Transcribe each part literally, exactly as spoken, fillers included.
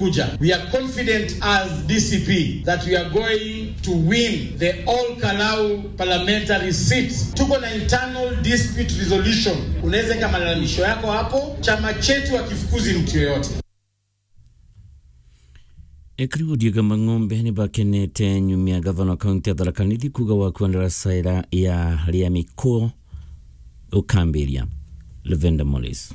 Kuja. We are confident as D C P that we are going to win the Ol Kalou parliamentary seat. Tuko na internal dispute resolution. Unaweza weka malalamisho yako hapo, chama chetu hakifukuzi mtu yoyote. Ekari wa Odiega Mang'ombe ni bakenete nyuma ya gavana wa kaunti ya Tharaka Nithi kuuga wakua ndaraca ira ya Riamikuyu ukambiria. Lavender Morris.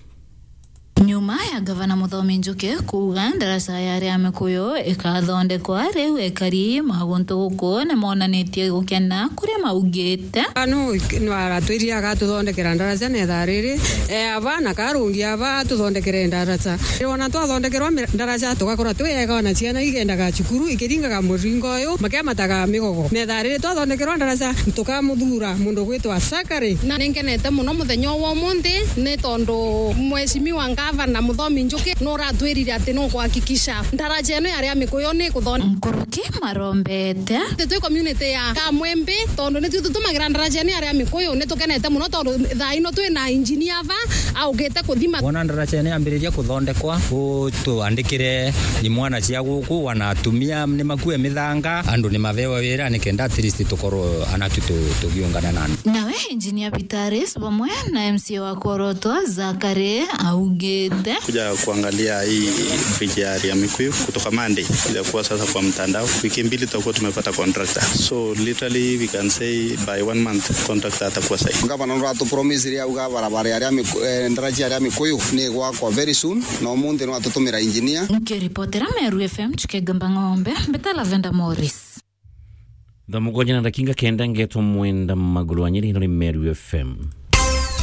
Nyuma ya gavana Muthomi Njuki kuuga ndaraca ya Riamikuyu ikathondekwa, riu ekari ma guntu guku ni monanitie gukena kuria maugite. Anu no aratwirire agatuthondekera ndaraca na ithaa riri, e ava na karungi ava atuthondekere ndaraca. Ona twathondekerwa mi-, ndaraca tugakorwa twi ega, ona ciana igendaga cukuru ikiringaga muringo uyu makiamataga migogo. Na ithaa riri twathondekerwa ndaraca, tukamuthura mundu gwitwa Sakari. Na ninkenete muno muthenya wa umunthi ni tondu Mheshimiwa Ngavana Muthomi Njuki nuratwirire ati nukuhakikisha ndaraca ino ya Riamikuyu ni kuthon-, nkuruki marombete. Twi community ya Kamwembe, tondu nitwi tutumagira ndaraca ino ya Riamikuyu, nitukenete muno tondu thaa ino twi na engineer ava aukite kuthima. Wona ndaraca ino yambiriria kuthondekwa, utuandikire imwana cia guku, wana atumia ni makue mithanga, andu ni mavewa wira, nikenda at least tukorwo anatu tu-, tugiungana na andu. Nawe Engineer Vitalis vamwe na M C A wa Kworotwa Zakari augite. Kuja kuangalia hii bridge ya Riamikuyu kutoka Monday, itakuwa sasa kwa mtandao. Wiki mbili tutakuwa tumepata contractor. So literally we can say by one month contractor atakuwa site. Gavana nuratupromise ria auga barabara ya Riamiku-, eh, ndaraca ya Riamikuyu ni gwakwa very soon, na umunthi no atutumira engineer. Nkiripotera Meru F M, Chukegamba Ng'ombe, mbeta Lavender Morris. Thaa mugwanja na ndakinga kenda, ngetwa Mwenda Maguru wa Nyeri, ino ni Meru F M.